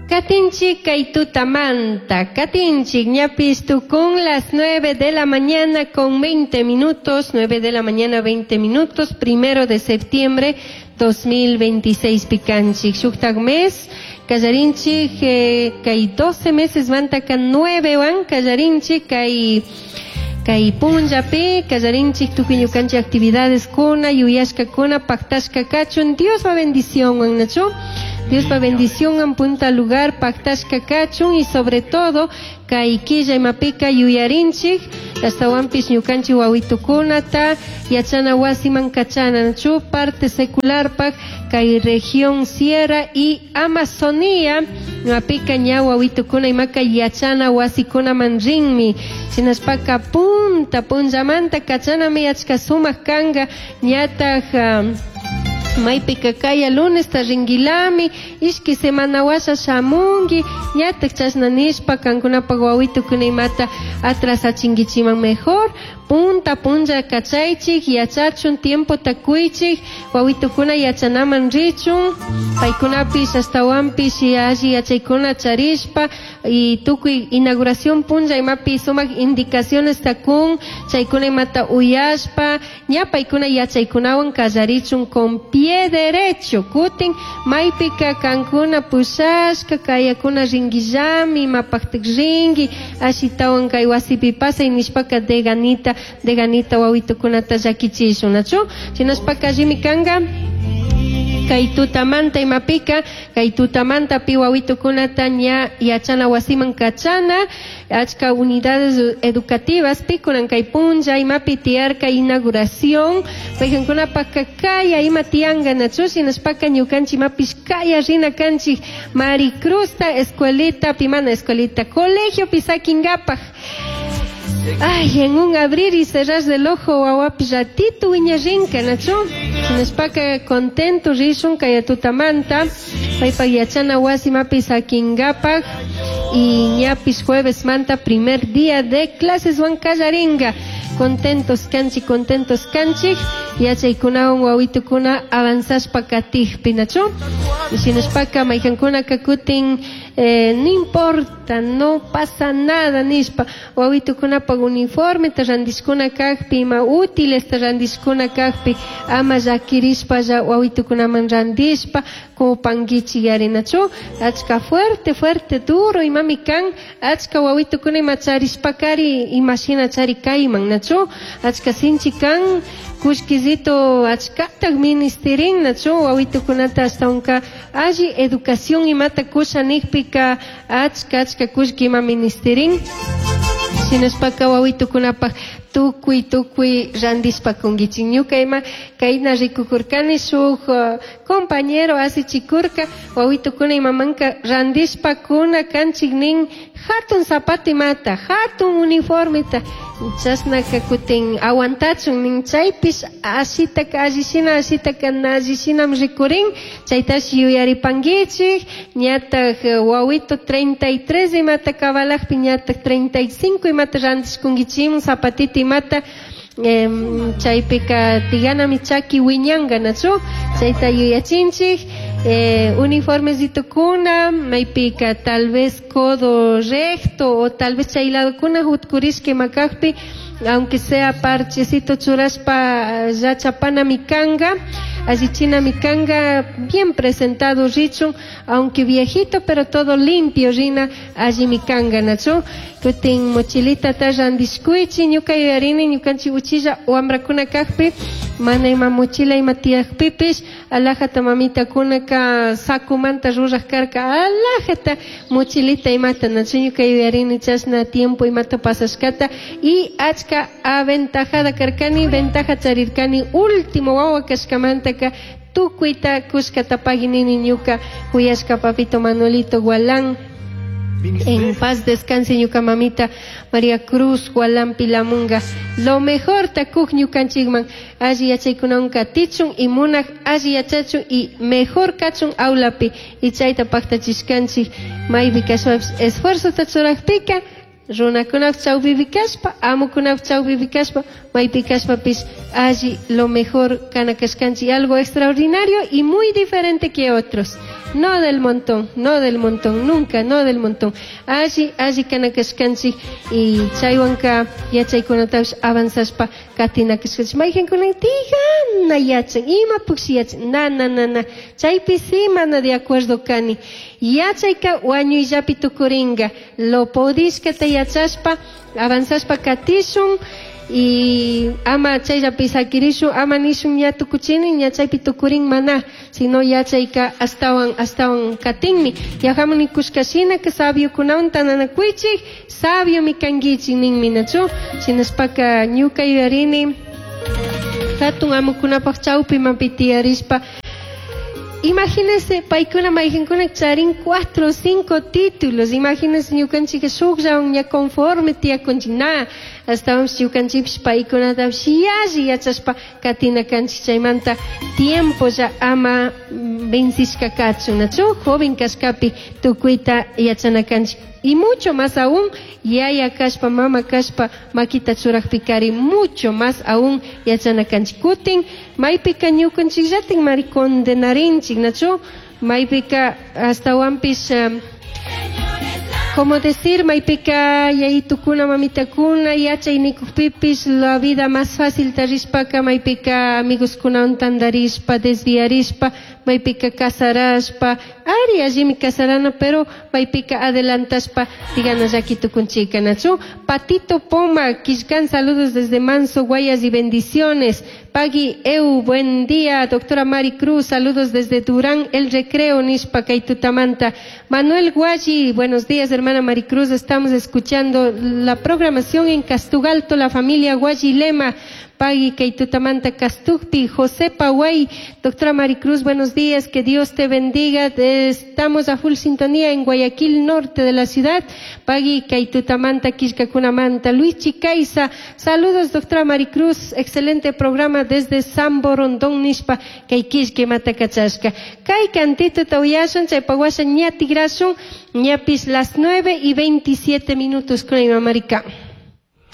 Katinchik kay tutamanta, katinchik ñapish tukun las 9 de la mañana con 20 minutos, 9 de la mañana 20 minutos, 1 de septiembre 2026 pikanchik. Shuktak mes, kallarinchik kay 12 meses mantaka 9 wan kallarinchik kay punllapi kallarinchik tukuy ñukanchik actividades kuna yuyashkakuna paktashka kachun Diospa bendición nachu. Diospa bendición en punta lugar paktashka kachun y sobre todo kay killa imapika yuyarinchik ashtawanpish ñukanchik wawitukunata yachana wasiman kachana nachu parte secularpak kay región Sierra y Amazonía imapika ña wawitukuna imaka yachana wasikunaman rinmi shinashpaka punta punllamanta kachanami achka sumak kanka ñataj maypika kaya lunesta ringuilami ishki semana washa shamungi ñatak chashna nishpa kankunapak wawitukuna imata atrasachinkichiman. Mejor punta punlla kachaychik yachachun tiempota kuychik wawitukuna yachanaman richun paykunapish ashtawanpish alli yachaykuna charishpa y tukuy inauguración punlla imapi sumak indicaciones kun chaykuna imata uyashpa ña paykuna yachaykunawan kallarichun con pie derecho. Kutin maypika kankuna pushashka kayakuna ringuillami imapaktak ringui ashitawan kay wasipi pasay nishpaka de ganita wawitukunata llakichishun nachu. Shinashpaka allimi kanka kay tutamanta imapika kay tutamanta pi wawitukunata ña yachana wasiman kachana achka unidades educativas pikunan kay punlla imapi tiyarka inauguración paykankunapaka kaya ima tiyanka nachu. Shinashpaka ñukanchik imapish kaya rina kanchik Maricruzta escuelita pimana escuelita colegio pisakingapak. Ay, en un abrir y cerrar del ojo wawapi ratito wiñarinka nachu. Shinashpaka contento rishun kaya tutamanta paypak yachana wasi mapi sakingapak y ñapis jueves manta primer día de clases wan kallaringa. Contentos kanchik, contentos kanchik yachaykunawan wawitukuna avanzashpa katikpi nachu. Shinashpaka maykankunaka kutin no importa, no pasa nada nishpa wawitukunapak uniforme ta randishkuna kakpi ima útiles ta randishkuna kakpi ama llakirishpalla wawitukunaman randishpa kupankichik yarinachu. Achka fuerte, fuerte, duro imami kan achka wawitukuna ima charishpakari imashina chari kayman nachu. Achka sinchi kan kullkisito achkatak ministerin nachu wawitukunata ashtawanka alli educación imata kusha nikpika achka achka kullki ima ministerin. Shinashpaka wawitukunapak tukuy tukuy randishpa kunkichik. Ñuka ima kayna rikukurkani shuk compañero asichikurka wawitukuna imamanka randishpa kuna kanchik nin hatun zapato imata hatun uniformeta chashnaka kutin aguantachun nin chaypish ashitaka allishina ashitaka na allishinami rikurin chaytash yuyaripankichik ñatak wawito 33 imata cabalakpi ñatak 35 imata randishkunkichikman zapatito imata chaypika tiganami chaki wiñanka nachu chayta yuyachinchik uniformesitokuna maypika tal vez codo recto o tal vez chay ladokuna jutkurishka ima kakpi aunque sea parchecito churashpa llachapanami kanka allichinami kanka bien presentado richun aunque viejito, pero todo limpio rina allimi kanka nachu. Kutin mochilita ta randishkuychi. Ñuka yuyarini ñukanchik uchilla wambrakuna kakpi mana ima mochila ima tiyakpipish alajata mamitakunaka sakumanta ruraj karka alajata mochilita imata nachu. Ñuka yuyarini chashna tiempo imata pasashkata y achka aventajada karkani ventaja charirkani último wawa kashkamantaka tukuyta kushkata paginini ñuka kuyashka papito Manuelito Gualán. En paz descanse ñuka mamita María Cruz Gualán Pilamunga. Lo mejor takuk ñukanchikman alli yachaykunawan katichun y munak alli yachachun y mejor kachun aulapi y chayta paktachishkanchik maypi kashpapish esfuerzota churakpika runakunapak chawpipi kashpa amukunapak chawpipi kashpa maypi kashpapish alli lo mejor kana kashkanchik algo extraordinario y muy diferente que otros. No del montón, no del montón, nunca, no del montón. Alli, alli kana kashkanchik y chaywanka yachaykunatapish avanzashpa katina kashkanchik. Mayqankuna tigana yachan, imapukshi yachan, na, na, na, na. Chaypi sí mana de acuerdo kani. Yachayka wañuyllapi tukurinka. Lo podishkata yachashpa, avanzashpa katishun y ama chayllapi sakirishun, ama nishun ña tukuchini, ña chaypi tukurin mana, sino yachayka astawan, astawan katinmi. Yajamun nikushka shina ka sabiokunawan tananakuychik, sabiomi kankichik ninmi, nachu? Shinashpaka ñuka yuyarini, hatun amukunapaj chawpimanpi tiyarishpa. Imagínense, paykuna mayqankuna charin 4 o 5 títulos. Imagínense ñukanchik shukllawan ña conforme tiyakunchik. Na, astawanpish ñukanchikpish paykunatapish yalli yachashpa katina kanchik. Chaymanta tiempo ya ama vencishka kachun, nachu? Joven kashkapi tukuyta yachana kanchik. Y mucho más aún, yaya kashpa, mama kashpa, makita churakpikari, mucho más aún yachana kanchik. Kutin, maypika ñukanchikllatin mari condenarinchik, nachu? Maypika astawanpish, como decir, maypika yayitukuna, mamitakuna, yachay nikukpipish, la vida más fácil tarishpaka, maypika amigoskunawan tandarishpa, desviarishpa, maypika casarashpa, ari allimi casarana, pero maypika adelantashpa, digana llaki tukunchika, nachu? Patito Poma, Quillcán, saludos desde Manso, Guayas y bendiciones. Pagui Eu, buen día, doctora Mari Cruz, saludos desde Durán, El Recreo, Nishpa, Kaitutamanta. Manuel Guayi, buenos días, hermana Maricruz, estamos escuchando la programación en Castugalto, la familia Guayi Lema. Pagui Kaitutamanta Castugpi, José Paguay, doctora Maricruz, buenos días, que Dios te bendiga. Estamos a full sintonía en Guayaquil, norte de la ciudad. Pagui Kaitutamanta, Quillcacunamanta. Luis Chicaiza, saludos, doctora Maricruz, excelente programa desde Sambo Rondón, Nishpa, Kaikishke Matacachasca. Kai cantito tauyashun, chaypaguasha ñatigrasun, ñapis las 9:27 con Marica.